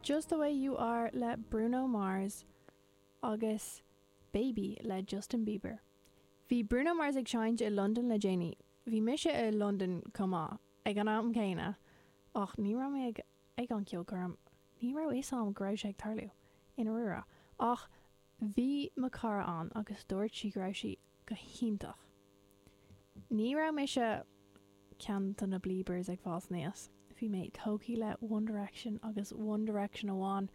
Just the Way You Are le Bruno Mars agus Baby le Justin Bieber. Bhí Bruno Mars ag seinnt i Londain le déanaí. Bhí mise i Londain chomh maith ag an am céanna ach ní raibh mé ag ag an ceolchoirm. Ní raibh fhios a'm go raibh sé ag tarlú, i ndáiríre. Ach bhí mo cara ann agus dúirt sí go raibh sí go hiontach. Ní raibh mise ceann de na Beliebers ag fás aníos. Bhí mé tógtha le One Direction agus One Direction amháin.